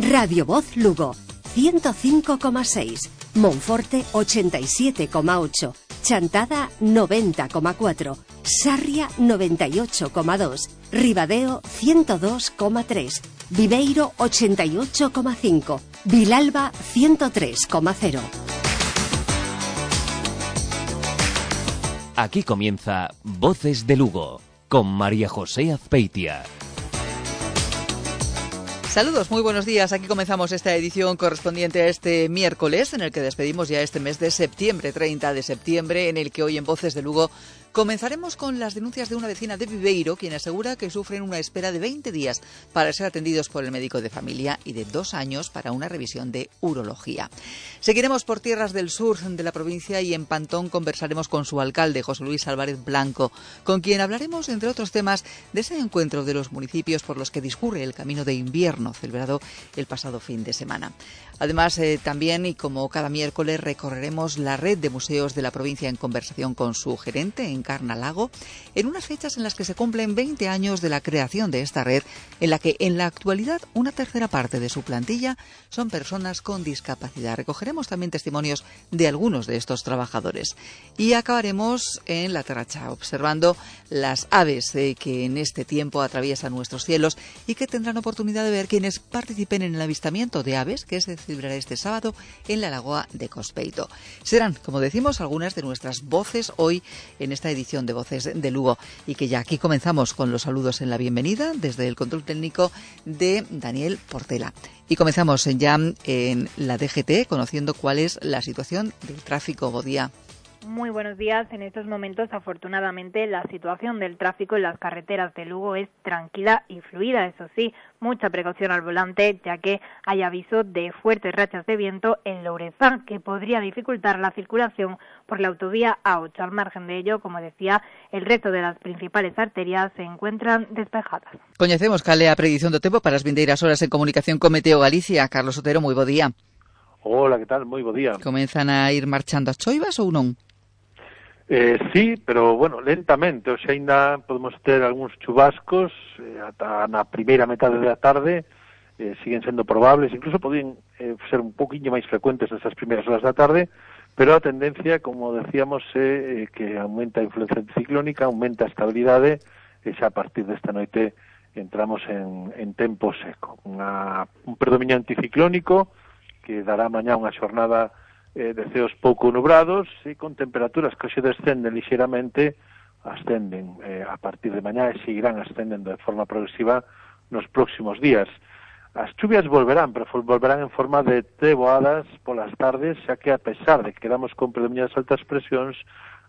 Radio Voz Lugo 105,6, Monforte 87,8, Chantada 90,4, Sarria 98,2, Ribadeo 102,3, Viveiro 88,5, Vilalba 103,0. Aquí comienza Voces de Lugo, con María José Azpeitia. Saludos, muy buenos días. Aquí comenzamos esta edición correspondiente a este miércoles, en el que despedimos ya este mes de septiembre, 30 de septiembre, en el que hoy en Voces de Lugo comenzaremos con las denuncias de una vecina de Viveiro, quien asegura que sufren una espera de 20 días para ser atendidos por el médico de familia y de 2 años para una revisión de urología. Seguiremos por tierras del sur de la provincia y en Pantón conversaremos con su alcalde, José Luis Álvarez Blanco, con quien hablaremos, entre otros temas, de ese encuentro de los municipios por los que discurre el Camino de Invierno, celebrado el pasado fin de semana. Además, también, y como cada miércoles, recorreremos la red de museos de la provincia en conversación con su gerente, Encarna Lago, en unas fechas en las que se cumplen 20 años de la creación de esta red, en la que en la actualidad una tercera parte de su plantilla son personas con discapacidad. Recogeremos también testimonios de algunos de estos trabajadores. Y acabaremos en La Terracha, observando las aves que en este tiempo atraviesan nuestros cielos y que tendrán oportunidad de ver quienes participen en el avistamiento de aves que se celebrará este sábado en la Lagoa de Cospeito. Serán, como decimos, algunas de nuestras voces hoy en esta edición de Voces de Lugo, y que ya aquí comenzamos con los saludos en la bienvenida desde el control técnico de Daniel Portela. Y comenzamos ya en la DGT conociendo cuál es la situación del tráfico. Buen día. Muy buenos días. En estos momentos, afortunadamente, la situación del tráfico en las carreteras de Lugo es tranquila y fluida. Eso sí, mucha precaución al volante, ya que hay aviso de fuertes rachas de viento en Lourezán, que podría dificultar la circulación por la autovía A8. Al margen de ello, como decía, el resto de las principales arterias se encuentran despejadas. Coñecemos cal é a predición do tempo para as vindeiras horas en comunicación con Meteo Galicia. Carlos Otero, moi bo día. Hola, que tal? Moi bo día. Comenzan a ir marchando as choivas ou non? Sí, pero, bueno, lentamente, xa ainda podemos ter algúns chubascos ata na primeira metade da tarde, siguen sendo probables, incluso podían ser un poquinho máis frecuentes nesas primeiras horas da tarde, pero a tendencia, como decíamos, é que aumenta a influencia anticiclónica, aumenta a estabilidade, e xa a partir desta noite entramos en tempo seco. Un predominio anticiclónico que dará mañá unha xornada de ceos pouco nubrados e con temperaturas que hoxe descenden lixeiramente, ascenden a partir de mañá e seguirán ascendendo de forma progresiva nos próximos días. As chuvias volverán, pero volverán en forma de treboadas polas tardes, xa que a pesar de que quedamos con predominio das altas presións,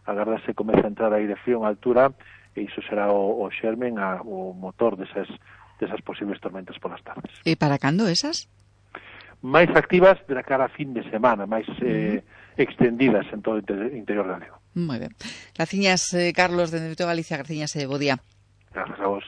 agardase que comece a entrar aire frío en altura e iso será o xermen, o motor desas posibles tormentas polas tardes. E para cando esas? Máis activas de cara a fin de semana, máis extendidas en todo o interior galego. Moi ben. Graciñas, Carlos, de Meteo Galicia. Graciñas, bo día. Gracias a vos.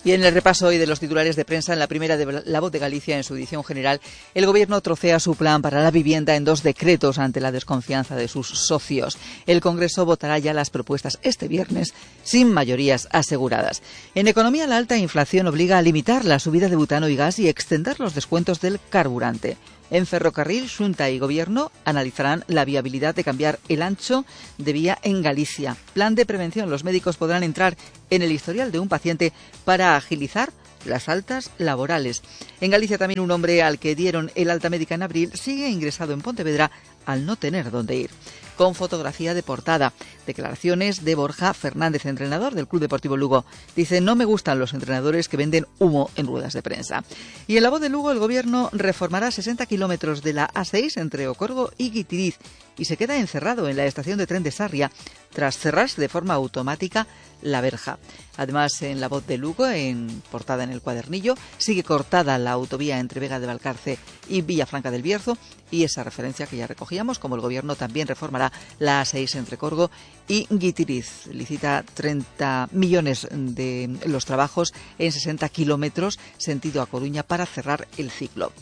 Y en el repaso hoy de los titulares de prensa, en la primera de La Voz de Galicia, en su edición general, el Gobierno trocea su plan para la vivienda en 2 decretos ante la desconfianza de sus socios. El Congreso votará ya las propuestas este viernes sin mayorías aseguradas. En economía, la alta inflación obliga a limitar la subida de butano y gas y extender los descuentos del carburante. En Ferrocarril, Xunta y Gobierno analizarán la viabilidad de cambiar el ancho de vía en Galicia. Plan de prevención. Los médicos podrán entrar en el historial de un paciente para agilizar las altas laborales. En Galicia también un hombre al que dieron el alta médica en abril sigue ingresado en Pontevedra al no tener dónde ir. Con fotografía de portada. Declaraciones de Borja Fernández, entrenador del Club Deportivo Lugo. Dice: no me gustan los entrenadores que venden humo en ruedas de prensa. Y en La Voz de Lugo, el Gobierno reformará 60 kilómetros de la A6 entre Ocorgo y Guitiriz y se queda encerrado en la estación de tren de Sarria tras cerrarse de forma automática la verja. Además, en La Voz de Lugo, en portada en el cuadernillo, sigue cortada la autovía entre Vega de Valcarce y Villafranca del Bierzo, y esa referencia que ya recogíamos, como el Gobierno también reformará la A6 entre Corgo y Guitiriz. Licita 30 millones de los trabajos en 60 kilómetros sentido a Coruña para cerrar el ciclo.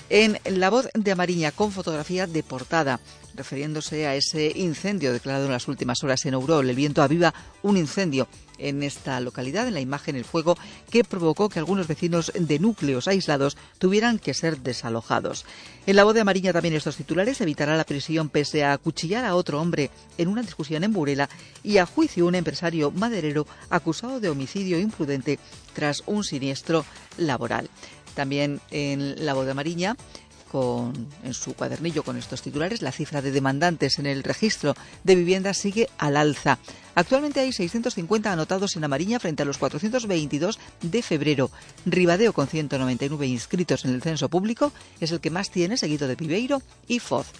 En La Voz de Amariña, con fotografía de portada, refiriéndose a ese incendio declarado en las últimas horas en Ourol. El viento aviva un incendio en esta localidad. En la imagen, el fuego que provocó que algunos vecinos de núcleos aislados tuvieran que ser desalojados. En La Voz de A Mariña también estos titulares: evitará la prisión pese a acuchillar a otro hombre en una discusión en Burela, y a juicio un empresario maderero acusado de homicidio imprudente tras un siniestro laboral. También en La Voz de A Mariña, en su cuadernillo con estos titulares: la cifra de demandantes en el registro de viviendas sigue al alza. Actualmente hay 650 anotados en A Mariña frente a los 422 de febrero. Ribadeo, con 199 inscritos en el censo público, es el que más tiene, seguido de Pibeiro y Foz.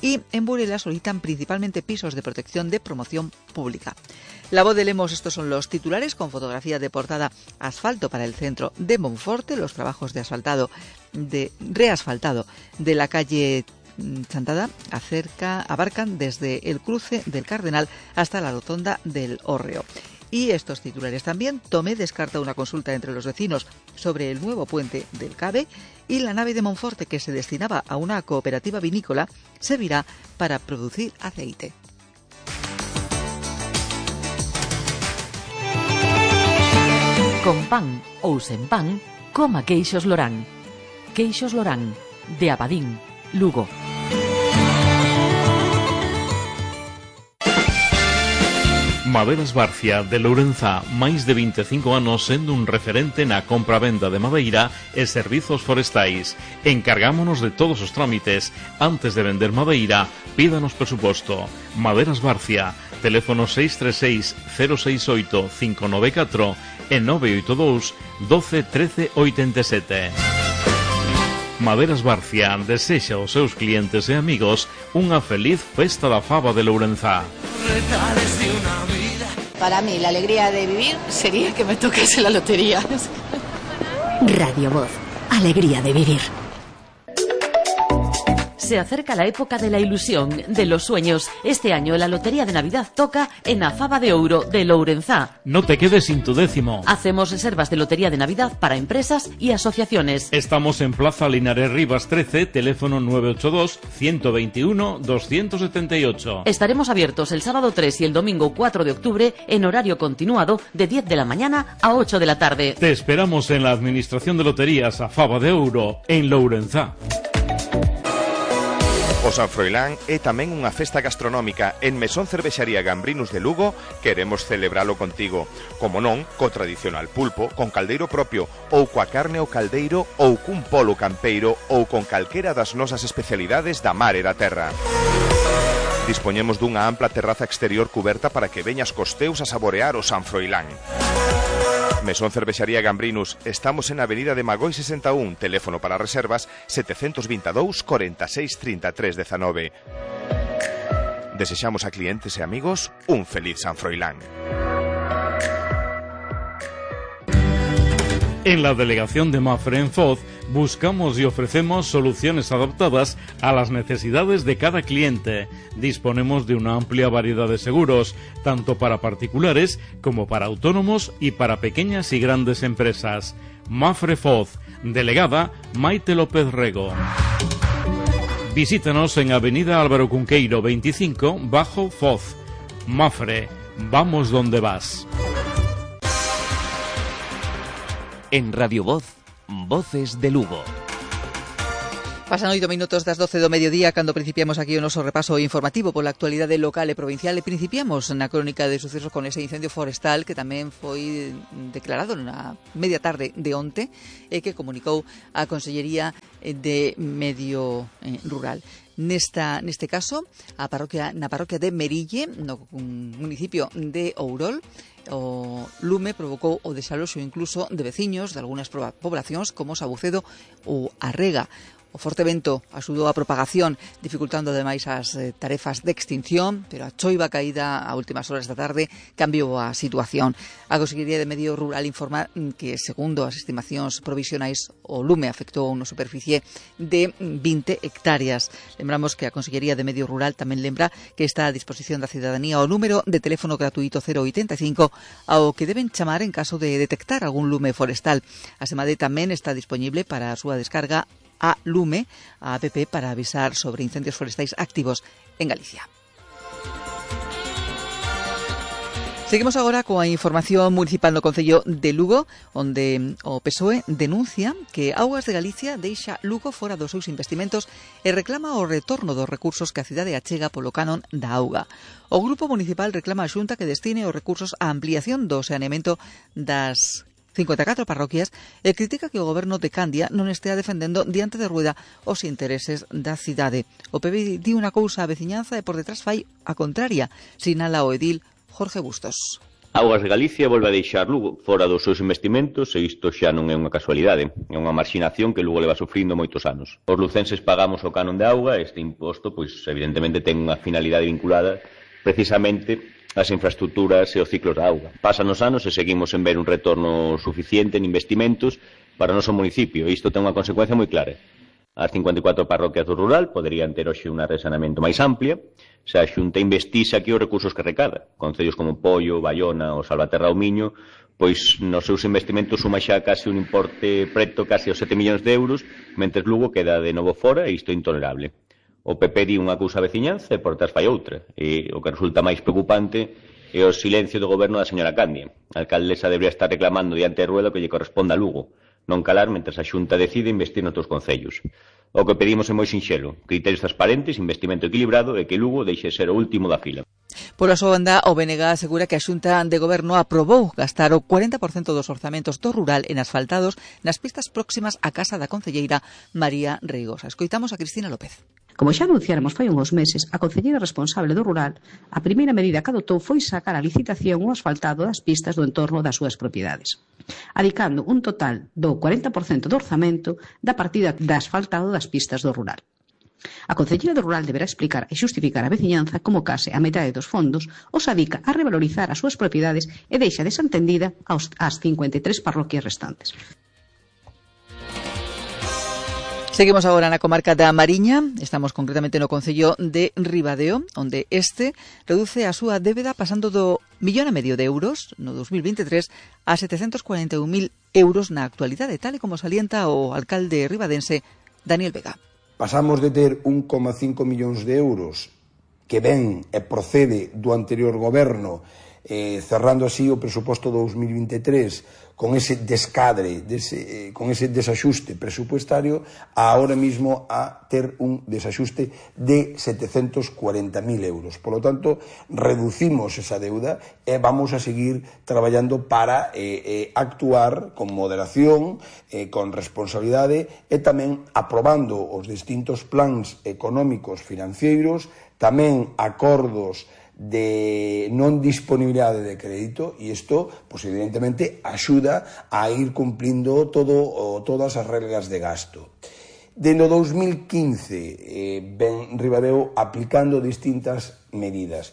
Y en Burela solicitan principalmente pisos de protección de promoción pública. La Voz de Lemos, estos son los titulares, con fotografía de portada: asfalto para el centro de Monforte. Los trabajos de reasfaltado de la calle Chantada abarcan desde el cruce del Cardenal hasta la rotonda del Hórreo. Y estos titulares también: Tomé descarta una consulta entre los vecinos sobre el nuevo puente del Cabe, y la nave de Monforte, que se destinaba a una cooperativa vinícola, servirá para producir aceite. Con pan ou sen pan, coma queixos Lorán. Queixos Lorán, de Abadín, Lugo. Maderas Barcia, de Lourenzá, máis de 25 anos sendo un referente na compra-venda de madeira e servizos forestais. Encargámonos de todos os trámites. Antes de vender madeira, pídanos presuposto. Maderas Barcia, teléfono 636 068 594 e 982 12 13 87. Maderas Barcia desexa aos seus clientes e amigos unha feliz festa da faba de Lourenzá. Para mí, la alegría de vivir sería que me tocase la lotería. Radio Voz, alegría de vivir. Se acerca la época de la ilusión, de los sueños. Este año la Lotería de Navidad toca en A Faba de Ouro de Lourenzá. No te quedes sin tu décimo. Hacemos reservas de Lotería de Navidad para empresas y asociaciones. Estamos en Plaza Linares Rivas 13, teléfono 982 121 278. Estaremos abiertos el sábado 3 y el domingo 4 de octubre en horario continuado de 10 de la mañana a 8 de la tarde. Te esperamos en la Administración de Loterías A Faba de Ouro, en Lourenzá. O San Froilán é tamén unha festa gastronómica. En Mesón Cervexaría Gambrinus de Lugo queremos celebralo contigo. Como non, co tradicional pulpo, con caldeiro propio, ou coa carne ao caldeiro, ou cun polo campeiro, ou con calquera das nosas especialidades da mar e da terra. Dispoñemos dunha ampla terraza exterior cuberta para que veñas cos teus a saborear o San Froilán. Mesón Cervexaría Gambrinus, estamos en Avenida de Magoi 61, teléfono para reservas 722 46 33 19. Desexamos a clientes e amigos un feliz San Froilán. En la delegación de Mafre en Foz buscamos y ofrecemos soluciones adaptadas a las necesidades de cada cliente. Disponemos de una amplia variedad de seguros, tanto para particulares como para autónomos y para pequeñas y grandes empresas. Mafre Foz, delegada Maite López Rego. Visítanos en Avenida Álvaro Cunqueiro 25, Bajo Foz. Mafre, vamos donde vas. En Radio Voz, Voces de Lugo. Pasan 8 minutos das 12 do mediodía cando principiamos aquí o noso repaso informativo pola actualidade local e provincial, e principiamos na crónica de sucesos con ese incendio forestal que tamén foi declarado na media tarde de onte e que comunicou a Consellería de Medio Rural. Neste caso, na parroquia de Merille, no municipio de Ourol, o lume provocou o desaloxo incluso de veciños de algunhas poblacións como Sabucedo ou Arrega. O forte vento axudou a propagación, dificultando ademais as tarefas de extinción, pero a choiva caída a últimas horas da tarde cambiou a situación. A Consellería de Medio Rural informa que, segundo as estimacións provisionais, o lume afectou a unha superficie de 20 hectáreas. Lembramos que a Consellería de Medio Rural tamén lembra que está a disposición da cidadanía o número de teléfono gratuito 085 ao que deben chamar en caso de detectar algún lume forestal. A SEMADE tamén está disponible para a súa descarga a Lume, a app para avisar sobre incendios forestais activos en Galicia. Seguimos agora coa información municipal no Concello de Lugo, onde o PSOE denuncia que Augas de Galicia deixa Lugo fora dos seus investimentos e reclama o retorno dos recursos que a cidade achega polo canon da auga. O Grupo Municipal reclama a Xunta que destine os recursos á ampliación do saneamento das 54 parroquias e critica que o goberno de Candia non estea defendendo diante de rueda os intereses da cidade. O PP di unha cousa á veciñanza e por detrás fai a contraria, sinala o edil Jorge Bustos. Augas de Galicia volve a deixar Lugo fora dos seus investimentos e isto xa non é unha casualidade, é unha marxinación que Lugo leva sufrindo moitos anos. Os lucenses pagamos o canon de auga e este imposto, pois evidentemente ten unha finalidade vinculada precisamente ás infraestructuras e os ciclos da auga. Pasan os anos e seguimos en ver un retorno suficiente en investimentos para o noso municipio e isto ten unha consecuencia moi clara. As 54 parroquias do rural poderían ter hoxe unha red de saneamento máis amplia se a Xunta investise aquí os recursos que recada. Concellos como Pollo, Baiona ou Salvaterra ou Miño, pois nos seus investimentos suma xa case un importe preto case aos 7 millóns de euros, mentres Lugo queda de novo fora e isto é intolerable. O PP di unha cousa a veciñanza e por detrás fai outra. E o que resulta máis preocupante é o silencio do goberno da señora Candia. A alcaldesa debería estar reclamando diante de rueda que lle corresponda a Lugo, non calar mentre a Xunta decide investir noutros concellos. O que pedimos é moi sinxelo, criterios transparentes, investimento equilibrado e que Lugo deixe ser o último da fila. Pola súa banda, o BNG asegura que a Xunta de Goberno aprobou gastar o 40% dos orzamentos do rural en asfaltados nas pistas próximas á casa da concelleira María Reigosa. Escoitamos a Cristina López. Como xa anunciáramos fai uns meses, a concelleira responsable do rural, a primeira medida que adotou foi sacar a licitación o asfaltado das pistas do entorno das súas propiedades, adicando un total do 40% do orzamento da partida de asfaltado das pistas do rural. A concelleira do rural deberá explicar e xustificar a veciñanza como case a metade dos fondos os adica a revalorizar as súas propiedades e deixa desentendida ás 53 parroquias restantes. Seguimos agora na comarca da Mariña, estamos concretamente no concello de Ribadeo, onde este reduce a súa débeda pasando do 1,5 millón de euros no 2023 a 741.000 euros na actualidade, tal e como salienta o alcalde ribadense Daniel Vega. Pasamos de ter 1,5 millóns de euros que ven e procede do anterior goberno, cerrando así o presuposto 2023 con ese descadre, con ese desaxuste presupuestario, a ahora mismo a ter un desaxuste de 740.000 euros. Por lo tanto, reducimos esa deuda e vamos a seguir traballando para actuar con moderación, con responsabilidade e tamén aprobando os distintos plans económicos financeiros, tamén acordos de non disponibilidade de crédito e isto, pues, evidentemente, axuda a ir cumplindo todas as reglas de gasto. Deno 2015 ven Ribadeo aplicando distintas medidas,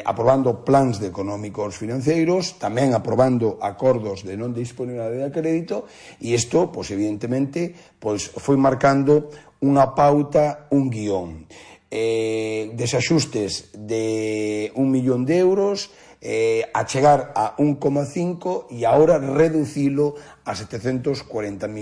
aprobando plans económicos financeiros, tamén aprobando acordos de non disponibilidade de crédito e isto, pues, evidentemente, pues, foi marcando unha pauta, un guión. Desaxustes de 1 millón de euros, a chegar a 1,5 e agora reducilo a 740.000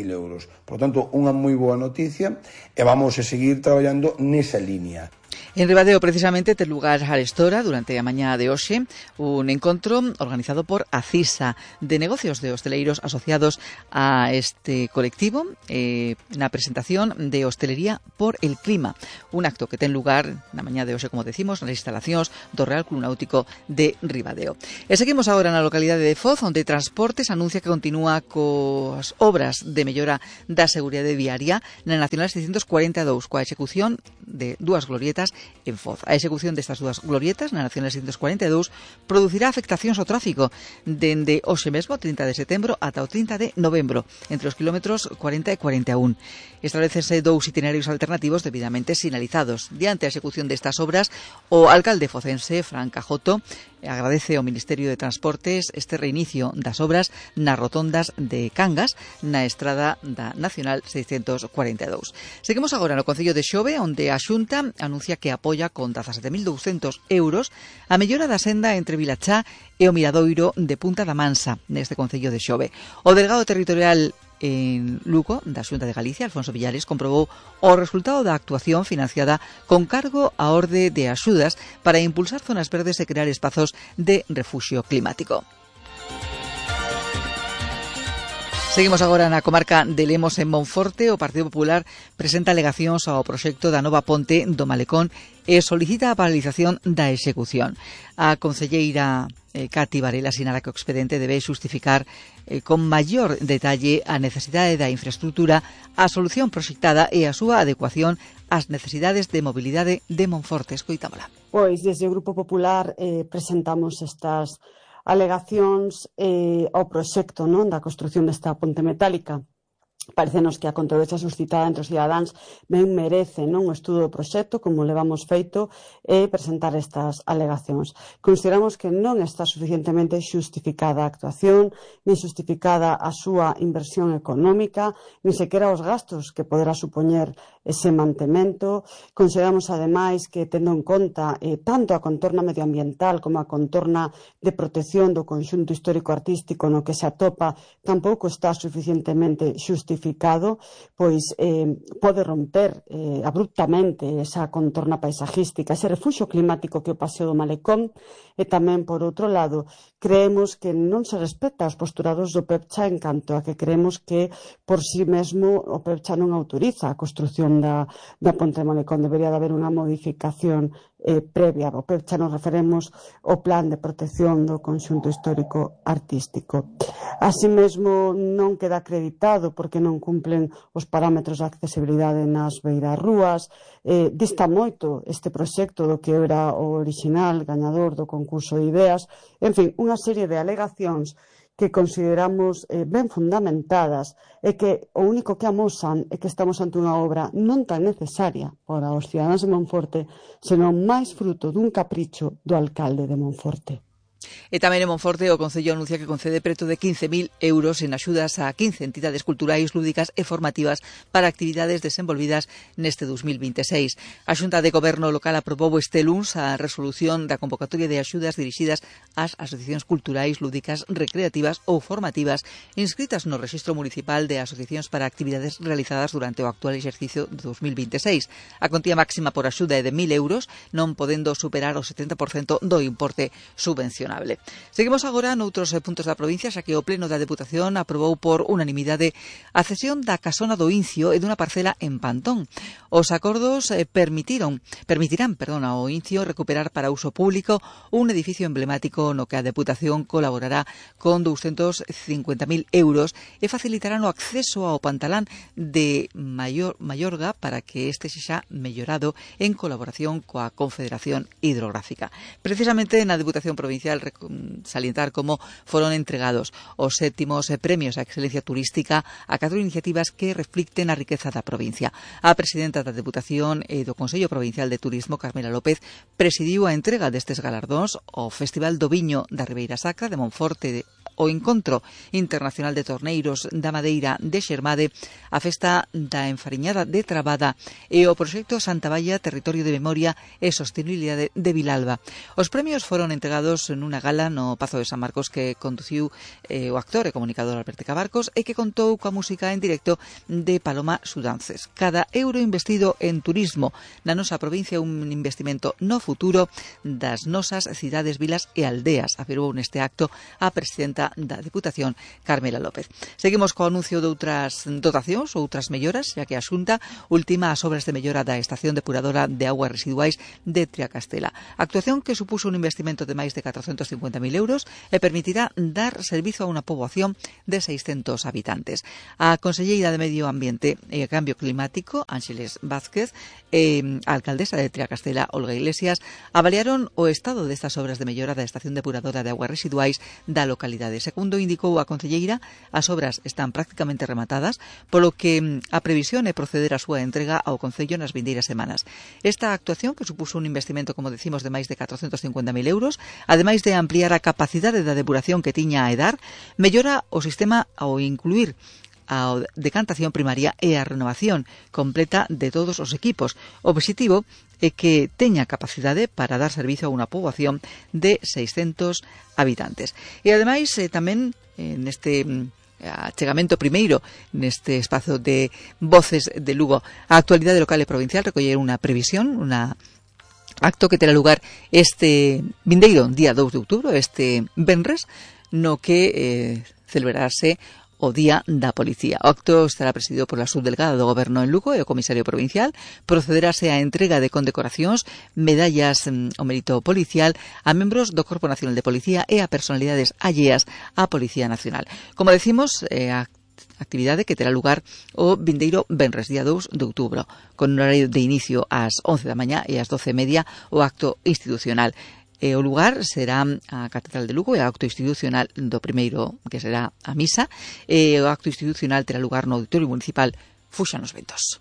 euros. Por tanto, unha moi boa noticia e vamos a seguir traballando nesa línea. En Ribadeo, precisamente, ten lugar a estora durante a mañá de hoxe un encontro organizado por ACISA de negocios de hosteleiros asociados a este colectivo na presentación de Hostelería por el Clima, un acto que ten lugar na mañá de hoxe, como decimos, nas instalacións do Real Club Náutico de Ribadeo. E seguimos agora na localidade de Foz, onde Transportes anuncia que continúa coas obras de mellora da seguridade viaria na Nacional 642, coa execución de dúas glorietas en Foz. A execución destas dúas glorietas na Nacional 642 producirá afectacións ao tráfico dende hoxe mesmo, 30 de setembro, ata o 30 de novembro, entre os kilómetros 40 e 41. Establecense dous itinerarios alternativos debidamente sinalizados. Diante a execución destas obras, o alcalde focense, Fran Cajoto, agradece ao Ministerio de Transportes este reinicio das obras nas rotondas de Cangas, na estrada da Nacional 642. Seguimos agora no Concello de Xove, onde a Xunta anuncia que apoia con 17.200 euros a mellora da senda entre Vilachá e o Miradoiro de Punta da Mansa, neste Concello de Xove. O delegado territorial en Lugo, da Xunta de Galicia, Alfonso Villares, comprobou o resultado da actuación financiada con cargo a orde de axudas para impulsar zonas verdes e crear espazos de refuxio climático. Seguimos agora na comarca de Lemos, en Monforte. O Partido Popular presenta alegacións ao proxecto da nova ponte do Malecón e solicita a paralización da execución. A concelleira Cati Varela sinala que o expediente debe xustificar con maior detalle a necesidade da infraestructura, a solución proxectada e a súa adecuación ás necesidades de mobilidade de Monforte. Escoitámola. Pois, desde o Grupo Popular presentamos estas alegacións ao proxecto, non, da construción desta ponte metálica. Parecenos que a controversia suscitada entre os cidadáns ben merece, non, o estudo do proxecto, como levamos feito, e presentar estas alegacións. Consideramos que non está suficientemente xustificada a actuación, nin justificada a súa inversión económica, nin sequera os gastos que poderá supoñer ese mantemento. Consideramos, ademais, que tendo en conta tanto a contorna medioambiental como a contorna de protección do conxunto histórico-artístico no que se atopa, tampouco está suficientemente justificado, pois pode romper abruptamente esa contorna paisajística, ese refuxio climático que é o Paseo do Malecón. E tamén, por outro lado, creemos que non se respecta aos postulados do PEPCHA en canto a que creemos que por si mesmo o PEPCHA non autoriza a construción da ponte do Malecón. Debería de haber unha modificación previa. O PEPCHA nos referemos ao plan de protección do conxunto histórico artístico. Así mesmo non queda acreditado porque non cumplen os parámetros de accesibilidade nas beirarrúas. Dista moito este proxecto do que era o original gañador do concurso de ideas. En fin, unha serie de alegacións que consideramos ben fundamentadas e que o único que amosan é que estamos ante unha obra non tan necesaria para os cidadáns de Monforte, senón máis fruto dun capricho do alcalde de Monforte. E tamén en Monforte o Concello anuncia que concede preto de 15.000 euros en axudas a 15 entidades culturais, lúdicas e formativas para actividades desenvolvidas neste 2026. A Xunta de Goberno local aprobou este luns a resolución da convocatoria de axudas dirixidas ás asociacións culturais, lúdicas, recreativas ou formativas inscritas no Rexistro Municipal de Asociacións para actividades realizadas durante o actual exercicio de 2026. A contía máxima por axuda é de 1.000 euros, non podendo superar o 70% do importe subvencionado. Seguimos agora noutros puntos da provincia, xa que o Pleno da Deputación aprobou por unanimidade a cesión da casona do Incio e dunha parcela en Pantón. Os acordos permitirán ao Incio recuperar para uso público un edificio emblemático no que a Deputación colaborará con 250.000 euros e facilitarán o acceso ao pantalán de Mallorga para que este sexa mellorado en colaboración coa Confederación Hidrográfica. Precisamente na Deputación Provincial salientar como foron entregados os 7º premios á excelencia turística a 4 iniciativas que reflicten a riqueza da provincia. A presidenta da Deputación e do Consello Provincial de Turismo, Carmela López, presidiu a entrega destes galardóns ao Festival do Viño da Ribeira Sacra de Monforte, o Encontro Internacional de Torneiros da Madeira de Xermade, a Festa da Enfariñada de Trabada e o Proxecto Santa Baia, Territorio de Memoria e Sostenibilidade de Vilalba. Os premios foron entregados nunha gala no Pazo de San Marcos que conduciu o actor e comunicador Alberto Cabarcos e que contou coa música en directo de Paloma Sudances. Cada euro investido en turismo na nosa provincia é un investimento no futuro das nosas cidades, vilas e aldeas, afirmou neste acto a presidenta da Deputación, Carmela López. Seguimos co anuncio de outras dotacións ou outras melloras, xa que a Xunta ultima as obras de mellora da estación depuradora de augas residuais de Triacastela. Actuación que supuso un investimento de máis de 450.000 euros e permitirá dar servizo a unha poboación de 600 habitantes. A conselleira de Medio Ambiente e Cambio Climático, Ángeles Vázquez, e a alcaldesa de Triacastela, Olga Iglesias, avaliaron o estado destas obras de mellora da estación depuradora de augas residuais da localidade. Segundo indicou a concelleira, as obras están prácticamente rematadas, polo que a previsión é proceder á súa entrega ao Concello nas vindeiras semanas. Esta actuación, que supuso un investimento, como decimos, de máis de 450.000 euros, ademais de ampliar a capacidade da depuración que tiña a EDAR, mellora o sistema ao incluir a decantación primaria e a renovación completa de todos os equipos. O objetivo é que teña capacidade para dar servizo a unha poboación de 600 habitantes. E ademais tamén neste achegamento primeiro neste espazo de Voces de Lugo. A actualidade local e provincial recoller unha previsión, unha acto que terá lugar este vindeiro día 2 de outubro, este venres, no que celebrarase o Día da Policía. O acto estará presidido pola subdelegada do Goberno en Lugo e o comisario provincial. Procederase á entrega de condecoracións, medallas ao mérito policial a membros do Corpo Nacional de Policía e a personalidades alleas á Policía Nacional. Como decimos, a actividade que terá lugar o vindeiro venres, día 2 de outubro, con un horario de inicio ás 11 da mañá e ás 12:30 o acto institucional. O lugar será a Catedral de Lugo e o acto institucional do primeiro, que será a misa, e o acto institucional terá lugar no Auditorio Municipal Fuxan os Ventos.